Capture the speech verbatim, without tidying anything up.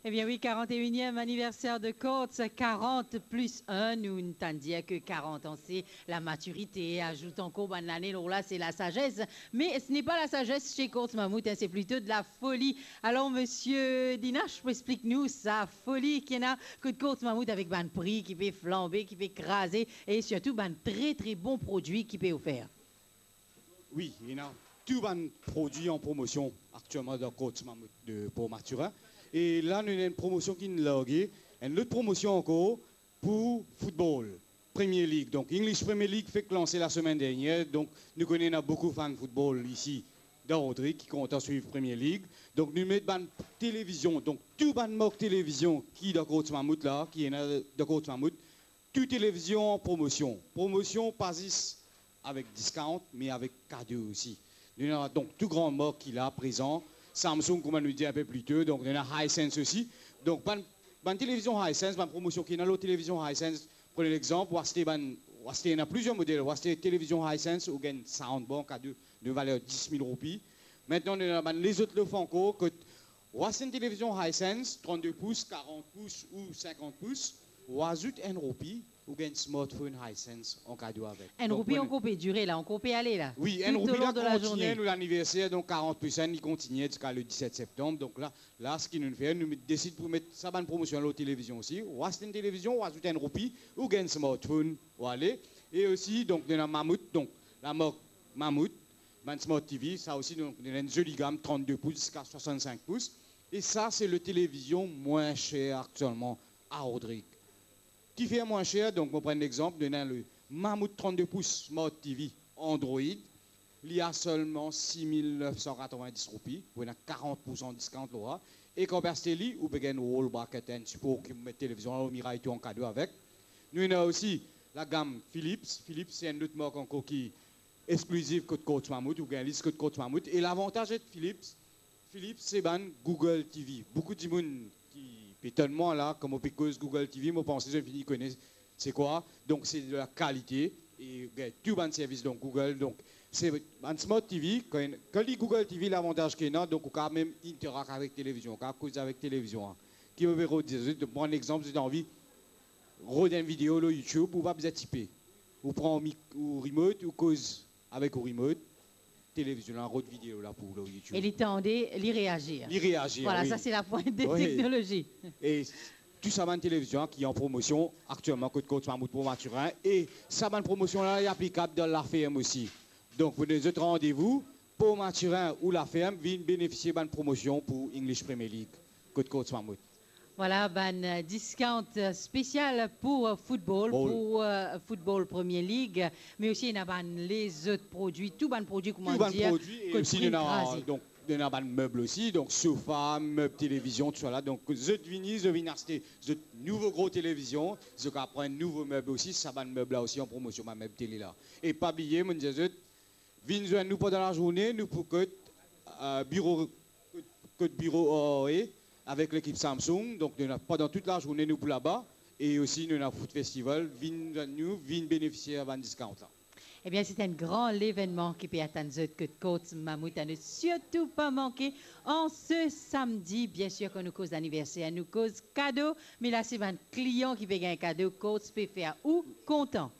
Ebien wi, quarante et unième anniversaire de Courts, quarante plus un, nou tann dir ke quarante an se la matirite, azout ankor bann lane lor la, se la sazes. Me ce n'est pas la sagesse chez Courts Mammouth, hein, c'est plutôt de la folie. Alor, Misie Dinache, pou explik nou sa foli ki ena kot Courts Mammouth avek bann pri ki pe flanbe, ki pe kraze e sirtou bann tre, tre bon prodwi ki pe ofer. Wi, ena tou bann prodwi an promosion aktielman dan Courts Mammouth de Port Mathurin. E la, nou ena enn promosion ki'nn large, enn lot promosion ankor pou football, Premier League. Donk, English Premier League fek lanse lasemenn dernier. Donk, nou kone ena boukou fan football isi dan Rodrig ki kontan swiv Premier League. Donk, nou met bann televizion. Donk, tou bann mark televizion ki dan Courts Mammouth la, ki ena dan Courts Mammouth, tou televizion an promosion. Promosion pa zis avek discount, me avek kado osi. Nou ena donk tou gran mark ki la prezan. Samsung, kouma nou dir inpe pli to, donk nou ena Hisense osi. Donk bann, bann televizion Hisense, bann promosion ki ena lor televizion Hisense, pran lexanp, ou aste bann, ou aste, ena plizier model, ou aste televizion Hisense, ou gagn soundbar kado de valer dis mil roupi. Mintnan, nou ena bann lezot lof ankor, kot ou aste enn televizion Hisense, trannde pous, karant pous ou sinkant pous, ou azout enn roupi, ou gagn smartphone Hisense an kado avek. Enn roupi ankor pe dire la, ankor pe ale la. Wi, enn roupi la kontigne nou laniverser, donk quarante plus un, li kontigne ziska le dix-sept septanm. Donk la, la, seki nou fer, nou desid pou met sa bann promosion lor televizion osi. Ou aste enn televizion, ou azout enn roupi, ou gagn smartphone, ou ale. E osi, donk, nou ena Mammouth, donk, lamark Mammouth, bann Smart T V, sa osi, donk, nou ena enn zoli gam, trannde pous ziska swasannsink pous. E sa, se le televizion mwin ser aktielman a Rodrig. Kifer mwin ser? Donk, mo pran enn lexanp, nou ena le Mammouth trannde pous Smart T V Android, li a selman sis mil nef san katrovin-dis roupi, ou ena karant poursan discount lor la. E kan ou pe aste li, ou pe gagn wall bracket, enn sipor ki pou met televizion la lor miray tou an kado avek. Nou ena osi lagam Philips. Philips, se enn lot mark ankor ki exklizif kot Courts Mammouth, ou gagn li zis kot Courts Mammouth. E lavantaz ek Philips, Philips, se bann Google T V. Boukou dimoun ki pe etonn mwa la, kan mo pe koz Google T V, mo panse zot fini kone se kwa. Donk, se de la kalite e gagn tou bann servis, donk, Google. Donk, se bann Smart T V, kan, kan li Google T V, lavantaz ki ena, donk, ou kapav mem interak avek televizion, ou kapav koz avek televizion, an. Ki mo pe rod zot, pran lexanp, zot anvi rod enn video lor YouTube, ou pa bizin tipe. Ou pran ou mik-, ou remote, ou koz avek ou remote, televizion la rod video la pou ou lor YouTube. E li tande, li reazir. Li reazir, wi. Vwala, sa se lapwint de teknolozi. E tou sa bann televizion ki an promosion aktielman kot Courts Mammouth Port Mathurin, e sa bann promosion la, li aplikab dan Laferm osi. Donk, pou donn zot randevou, Port Mathurin ou Laferm, vinn benefisie bann promosion pou English Premier League kot Courts Mammouth. Vwala, bann, euh, discount, euh, spesial pou, euh, football, pou, euh, football Premier League, me osi ena bann lezot prodwi, tou bann prodwi, kouma dir, kot pri kraze. Tou bann prodwi, e osi nou ena, donk, nou ena bann meb osi, donk sofa, meb televizion, tousala. Donk, zot vini, zot vinn aste zot nouvo gro televizion, zot kapav pran nouvo meb osi, sa bann meb la osi an promosion, bann meb tele la. E pa bliye, mo dir zot, vinn zwenn nou pandan lazourne, nou pou kot, euh, biro, kot, kot biro A R E avek lekip Samsung. Donk, nou ena, pandan tout lazourne, nou pou laba. E osi, nou ena food festival. Vinn zwenn nou, vinn benefisie bann discount la. Ebien, se enn gran levennman ki pe atann zot kot Courts Mammouth. A ne sirtou pa manke an se samdi. Biensir, kan nou koz laniverser, nou koz kado. Me la, se bann klian ki pe gagn kado. Courts pe fer ou kontan.